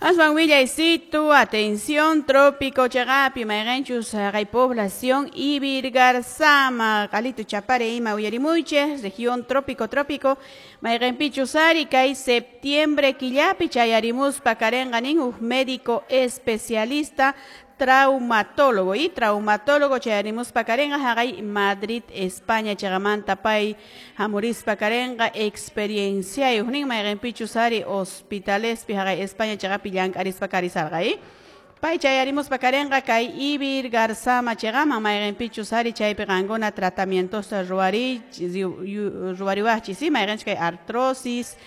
Aswan willaysitu, atención, Trópico chiqapi, mayqinchus kay población Ivirgarzama, Qalito Chapare ima uyarimuychik, región Trópico Trópico, mayqinpichus ari kay septiembre killapi chayarimuspa karenqa nin huk médico especialista traumatólogo y traumatólogo chayarimuspa karenqa haqay Madrid, España chiqamanta pay hamurispa karenqa experienciayuq nin mayqinpichus ari hospitalespi haqay España chiqapi llank'arispa karisarqa pay chayarimuspa karenqa kay Ivirgarzama chiqaman mayqinpichus ari chaypi qankuna tratamientosta ruwariwaqchis mayqinchus kay artrosis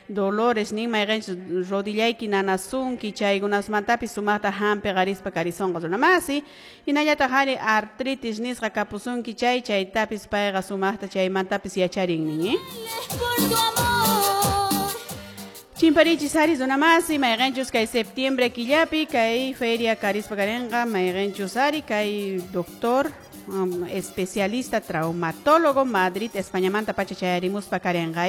dolores nin mayqinchus rodillayki nanasunki chaykunasmantapis sumaqta hampi qarispa karisonqa runamasi hinallataq ari artritis nisqa kapusunki chay chaytapis payqa sumaqta chaymantapis yacharin nin. Chimparichis ari runamasi mayqinchus kay septiembre killapi kay feria karispa karenqa mayqinchus ari kay doctor especialista traumatólogo Madrid Españamanta pacha chayarimuspa karenqa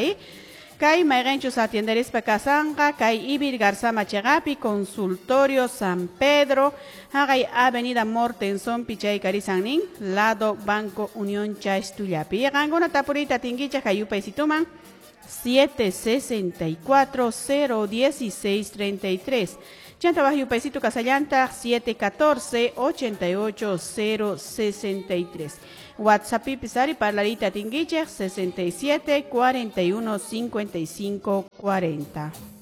kay mayqinchus atienderispa kasanqa kay Ivirgarzama chiqapi consultorio San Pedro haqay Avenida Mortenson pichay karisan nin lado Banco Unión Chastullapi qankuna tapuriyta atinkichik kay yupaysituman 764 016 33 Chanta bajo yupaysito kasallanta 714 88 063 WhatsApp pisari parlarita atinkichik 67 41 55 40.